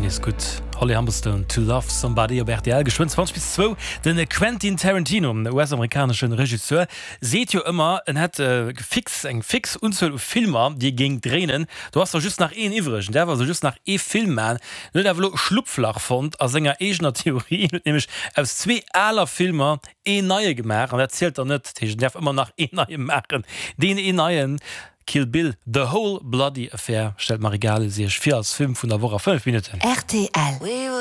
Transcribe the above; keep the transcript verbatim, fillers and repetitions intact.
Ëmmer nees gutt. Holly Humberstone, To Love Somebody op rtl. Geschwënn zwanzeg bis zwou. Den Quentin Tarantino, U S-amerikaneschen Regisseur, seet jo ëmmer, en hätt fix eng fix Unzuel u Filmer, déi e géing dréinen. Do ass der just nach een iwwreg, en däerf also just nach ee Film man. En huet awer elo e Schlupflach fonnt a senger eegener Theorie, en huet nämlech aus zwee aler Filmer een neie gemaach an dat zielt dann net. Dat heescht, en däerf ëmmer nach een neie maachen. Deen een neien, Kill Bill, The Whole Bloody Affair, stellt d'Marie Gales iech vir als Film vun der Woch a fënnef Minutten. Rtl.